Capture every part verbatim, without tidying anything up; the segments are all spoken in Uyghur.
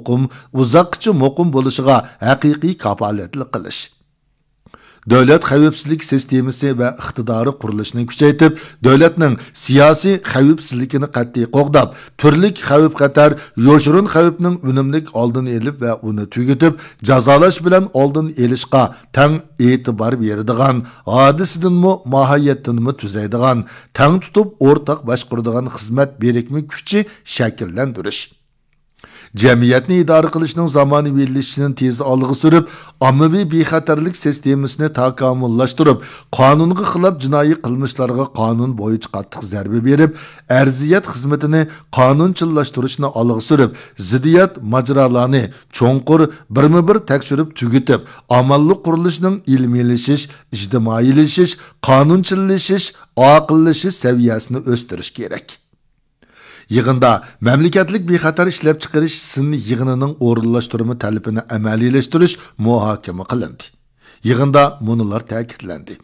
مۇقىم، ئۇزاققىچە مۇقىم بولۇشىغا ھەقىقىي كاپالەتلىك قىلىش. دۆلەت خەۋپسىزلىك سىستېمىسى ۋە ئىقتىدارى قۇرۇلۇشىنى كۈچەيتىپ، دۆلەتنىڭ سىياسىي خەۋپسىزلىكىنى قەتئىي قوغداپ، تۈرلۈك خەۋپ-خەتەر، يوشۇرۇن خەۋپنىڭ ئۈنۈملۈك ئالدىنى ئېلىپ ۋە ئۇنى تۈگىتىپ، جازالاش بىلەن ئالدىنى ئېلىشقا تەڭ ئېتىبار بېرىدىغان، ھادىسىدىنمۇ، ماھىيەتتىنمۇ تۈزەيدىغان، تەڭ تۇتۇپ ئورتاق باشقۇرىدىغان خىزمەت بىرىكمە كۈچى شەكىللەندۈرۈش. جەمئىيەتنى ئىدارە قىلىشنىڭ زامانىۋىلىشىشىنى تېز ئالغا سۈرۈپ، ئاممىۋى بىخەتەرلىك سىستېمىسىنى تاكامۇللاشتۇرۇپ، قانۇنغا خىلاپ جىنايى قىلمىشلارغا قانۇن بويىچە قاتتىق زەربە بېرىپ، ئەرزىيەت خىزمىتىنى قانۇنچىللاشتۇرۇشنى ئالغا سۈرۈپ، زىددىيەت ماجىرالارنى چوڭقۇر، بىرمۇبىر تەكشۈرۈپ تۈگىتىپ، ئامانلىق قۇرۇلۇشىنىڭ ئىلمىيلىشىش، ئىجتىمائىيلىشىش، قانۇنچىللىشىش، ئاقىللىشىش سەۋىيەسىنى ئۆستۈرۈش كېرەك. يىغىندا مەملىكەتلىك بىخەتەر ئىشلەپچىقىرىش سىن يىغىنىنىڭ ئورۇنلاشتۇرما تەلىپىنى ئەمەلىيلەشتۈرۈش مۇھاكىمە قىلىندى. يىغىندا مۇنۇلار تەكىتلەندى.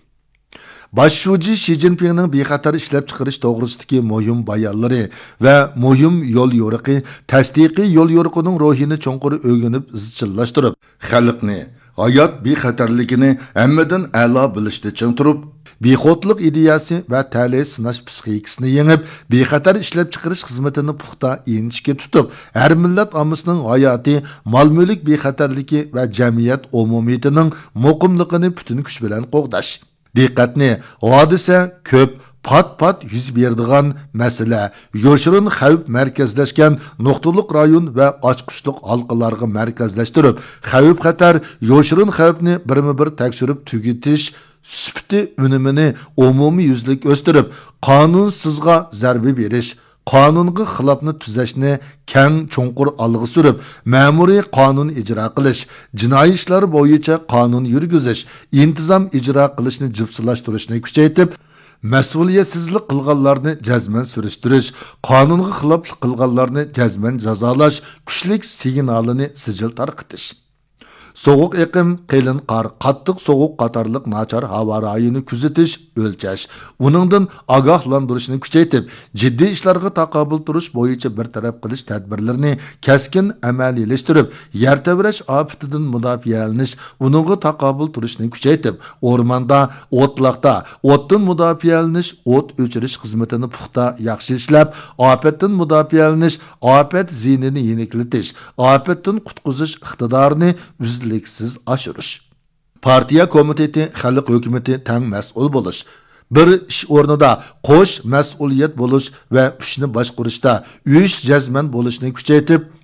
باش شۇجى شى جىنپىڭنىڭ بىخەتەر ئىشلەپچىقىرىش توغرىسىدىكى مۇھىم بايانلىرى ۋە مۇھىم يوليورۇقى، تەستىقىي يوليورۇقىنىڭ روھىنى چوڭقۇر ئۆگىنىپ ئىزچىللاشتۇرۇپ، خەلقنى، ھايات بىخەتەرلىكىنى ھەممىدىن ئەلا بىلىشتە چىڭ تۇرۇپ، بىخۇدلۇق ئىدىيەسى ۋە تەلەي سىناش پىسخىكىسىنى يېڭىپ، بىخەتەر ئىشلەپچىقىرىش خىزمىتىنى پۇختا، ئىنچىكە تۇتۇپ، ھەر مىللەت ئاممىسىنىڭ ھاياتىي، مال-مۈلۈك بىخەتەرلىكى ۋە جەمئىيەت ئومۇمىيىتىنىڭ مۇقىملىقىنى پۈتۈن كۈچ بىلەن قوغداش. دىققەتنى ھادىسە كۆپ، پات-پات يۈز بېرىدىغان مەسىلە، يوشۇرۇن خەۋپ مەركەزلەشكەن نۇقتىلىق رايون ۋە ئاچقۇچلۇق ھالقىلارغا مەركەزلەشتۈرۈپ، خەۋپ-خەتەر، يوشۇرۇن خەۋپنى بىرمۇبىر تەكشۈرۈپ تۈگىتىش سۈپىتى ئۈنۈمىنى ئومۇميۈزلۈك ئۆستۈرۈپ، قانۇنسىزغا زەربە بېرىش، قانۇنغا خىلاپنى تۈزەشنى كەڭ چوڭقۇر ئالغا سۈرۈپ، مەمۇرىي قانۇن ئىجرا قىلىش، جىنايى ئىشلار بويىچە قانۇن يۈرگۈزۈش، ئىنتىزام ئىجرا قىلىشنى جىپسىلاشتۇرۇشنى كۈچەيتىپ، مەسئۇلىيەتسىزلىك قىلغانلارنى جەزمەن سۈرۈشتۈرۈش، قانۇنغا خىلاپلىق قىلغانلارنى جەزمەن جازالاش كۈچلۈك سىگنالىنى سىجىل تارقىتىش. سوغۇق ئېقىم، قېلىن قار، قاتتىق سوغۇق قاتارلىق ناچار ھاۋا رايىنى كۆزىتىش، ئۆلچەش، ئۇنىڭدىن ئاگاھلاندۇرۇشنى كۈچەيتىپ، جىددىي ئىشلارغا تاقابىل تۇرۇش بويىچە بىر تەرەپ قىلىش تەدبىرلىرىنى كەسكىن ئەمەلىيلەشتۈرۈپ، يەر تەۋرەش ئاپىتىدىن مۇداپىئەلىنىش، ئۇنىڭغا تاقابىل تۇرۇشنى كۈچەيتىپ، ئورماندا، ئوتلاقتا ئوتتىن مۇداپىئەلىنىش، ئوت ئۆچۈرۈش خىزمىتىنى پۇختا، ياخشى ئىشلەپ، ئاپەتتىن مۇداپىئەلىنىش، ئاپەت زىيىنىنى يېنىكلىتىش، ئاپەتتىن قۇتقۇزۇش ئىقتىدارىنى ئۈزلۈكسىز ئاشۇرۇش. پارتىيە كومىتېتى، خەلق ھۆكۈمىتى تەڭ مەسئۇل بولۇش، بىر ئىش ئورنىدا قوش مەسئۇلىيەت بولۇش ۋە كۈچنى باشقۇرۇشتا ئۈچ جەزمەن بولۇشنى كۈچەيتىپ،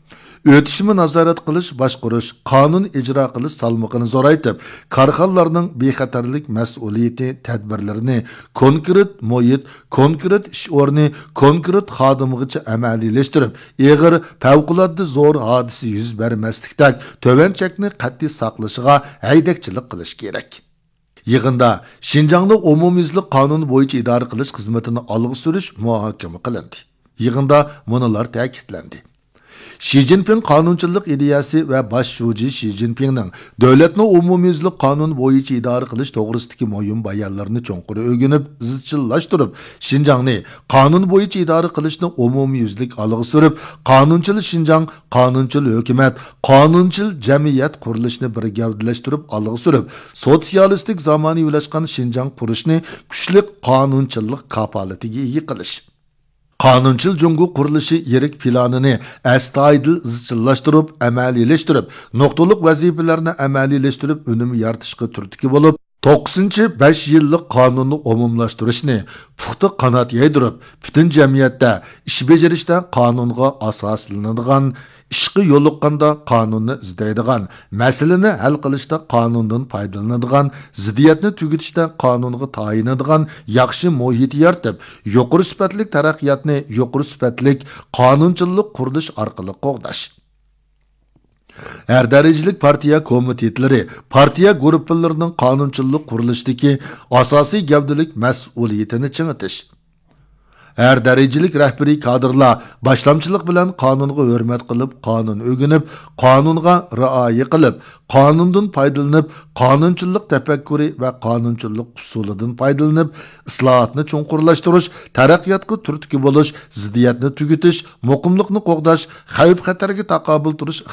ئۆتۈشمە نازارەت قىلىش، باشقۇرۇش، قانۇن ئىجرا قىلىش سالمىقىنى زورايتىپ، كارخانىلارنىڭ بىخەتەرلىك مەسئۇلىيىتى تەدبىرلىرىنى كونكرېت مۇھىت، كونكرېت ئىش ئورنى، كونكرېت خادىمىغىچە ئەمەلىيلەشتۈرۈپ، ئېغىر، پەۋقۇلئاددە زور ھادىسە يۈز بەرمەسلىكتەك تۆۋەن چەكنى قەتئىي ساقلىشىغا ھەيدەكچىلىك قىلىش كېرەك. يىغىندا شىنجاڭنى ئومۇميۈزلۈك قانۇن بويىچە ئىدارە قىلىش خىزمىتىنى ئالغا سۈرۈش مۇھاكىمە قىلىندى. يىغىندا مۇنۇلار تەكىتلەندى. شى جىنپىڭ قانۇنچىللىق ئىدىيەسى ۋە باش شۇجى شى جىنپىڭنىڭ دۆلەتنى ئومۇميۈزلۈك قانۇن بويىچە ئىدارە قىلىش توغرىسىدىكى مۇھىم بايانلىرىنى چوڭقۇر ئۆگىنىپ، ئىزچىللاشتۇرۇپ، شىنجاڭنى قانۇن بويىچە ئىدارە قىلىشنى ئومۇميۈزلۈك ئالغا سۈرۈپ، قانۇنچىل شىنجاڭ، قانۇنچىل ھۆكۈمەت، قانۇنچىل جەمئىيەت قۇرۇلۇشىنى بىر گەۋدىلەشتۈرۈپ ئالغا سۈرۈپ، سوتسىيالىستىك زامانىۋىلاشقان شىنجاڭ قۇرۇشنى كۈچلۈك قانۇنچىللىق كاپالىتىگە ئىگە قىلىش. قانۇنچىل جۇڭگو قۇرۇلۇشى يىرىك پىلانىنى ئەستايىدىل ئىزچىللاشتۇرۇپ، ئەمەلىيلەشتۈرۈپ، نۇقتىلىق ۋەزىپىلەرنى ئەمەلىيلەشتۈرۈپ، ئۈنۈم يارىتىشقا تۈرتكە بولۇپ، توققۇزىنچى بەش يىللىق قانۇننى ئومۇملاشتۇرۇشنى پۇختا قانات يايدۇرۇپ، پۈتۈن جەمئىيەتتە ئىش بېجىرىشتە قانۇنغا ئاساسلىنىدىغان، ئىشقا يولۇققاندا قانۇننى ئىزدەيدىغان، مەسىلىنى ھەل قىلىشتا قانۇندىن پايدىلىنىدىغان، زىددىيەتنى تۈگىتىشتە قانۇنغا تايىنىدىغان ياخشى مۇھىت يارىتىپ، يۇقىرى سۈپەتلىك تەرەققىياتنى يۇقىرى سۈپەتلىك قانۇنچىللىق قۇرۇلۇش ئارقىلىق قوغداش. ھەر دەرىجىلىك پارتىيە كومىتېتلىرى، پارتىيە گۇرۇپپىلىرىنىڭ قانۇنچىللىق قۇرۇلۇشىدىكى ئاساسىي گەۋدىلىك مەسئۇلىيىتىنى چىڭىتىش. ھەر دەرىجىلىك رەھبىرىي كادىرلار باشلامچىلىق بىلەن قانۇنغا ھۆرمەت قىلىپ، قانۇن ئۆگىنىپ، قانۇنغا رىئايە قىلىپ، قانۇندىن پايدىلىنىپ، قانۇنچىللىق تەپەككۇرى ۋە قانۇنچىللىق ئۇسۇلىدىن پايدىلىنىپ، ئىسلاھاتنى چوڭقۇرلاشتۇرۇش، تەرەققىياتقا تۈرتكە بولۇش، زىددىيەتنى تۈگىتىش، مۇقىملىقنى قوغداش، خەۋپ-خەتەرگە تاقابىل تۇرۇش